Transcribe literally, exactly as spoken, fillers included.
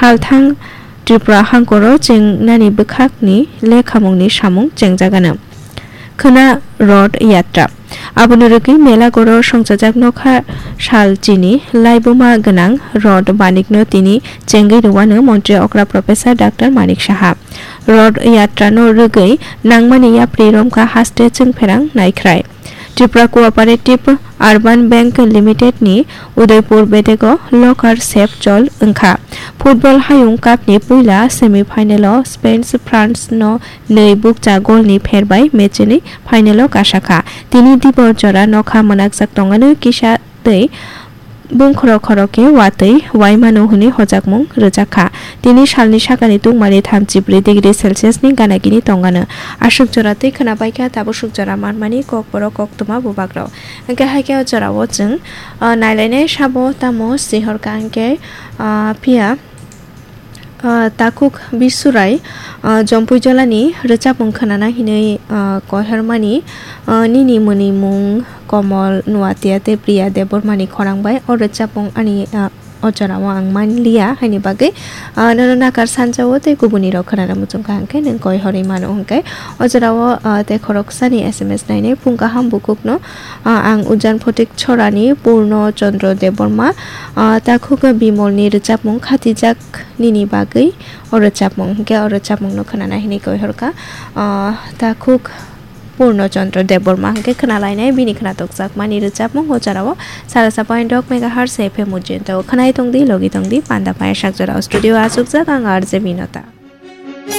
Halthang Tripura hangkoro chengnani bwkhakni lekhamungni samung chengjagano. Khwna Rod Yatra. Aboni rwgwi Melagoro songchajak nokha sal chini laibuma gwnang Rod Manikno tini chengwi rwano Montri okra Professor Doctor Manik Saha. Rod Yatrano rwgwi nangmani yapri romkha haste chwngpherang naikhrai. Tripura Cooperative Urban Bank Limited ni Udaipur bedego locker sep chol wngkha. Football Hayung Cup ni puila semi final o Spain France no nwi bukcha goal ni pher bai match ni final o kasakha. Tini dibo jora nokha mwnakjak tongano kisa tei bungkhoro khoro khe watwi waimano hwnwi hojakmung rwjakha. Tini salni sakani tungmani thamchi bwrwi degree Celsius ni ganagini tongano. Aswk jora twi khwna baikha tabuk swk jora manmani kokborok koktwma bubagrok. Hwnkhe haikhe o jorao chwng, ah, nailainai sabo tamo sihorkha hwnkhe, ah, phiya Ah, takhuk Bisurai, ah, Jompui Jolani rwchapmung khwnana hinwi, ah, koihormani, ah, nini mwnwi mung Komol Nuatia tei Priya Debbarmani khorang bai o rwchapmung ani, ah, o jorao ang manliya haini bagwi, ah, nono nakar sanjao tei kubunirok khwnana muchungkha hwnkhe nwng koihorwi mano hwnkhe o jorao, ah, tei khoroksani S M S nainai phung kaham bukhukno, ah, ang Ujan Photik Chorani Purno Chandra Debbarma, ah, takhuk Bimolni rwchapmung khatijak nini bagwi o rwchapmung, hwnkhe o rwchapmungno khwnana hinwi koihorkha, ah, takhuk Purno Chandra Debbarma hwnkhe khwnalainai bini khwnathokjakmani rwchapmung o jorao sarasa point dok megahertz F M ujinto khwnai tongdi, logi tongdi, panda pai sak jorao studio achukjak ang R J Binota.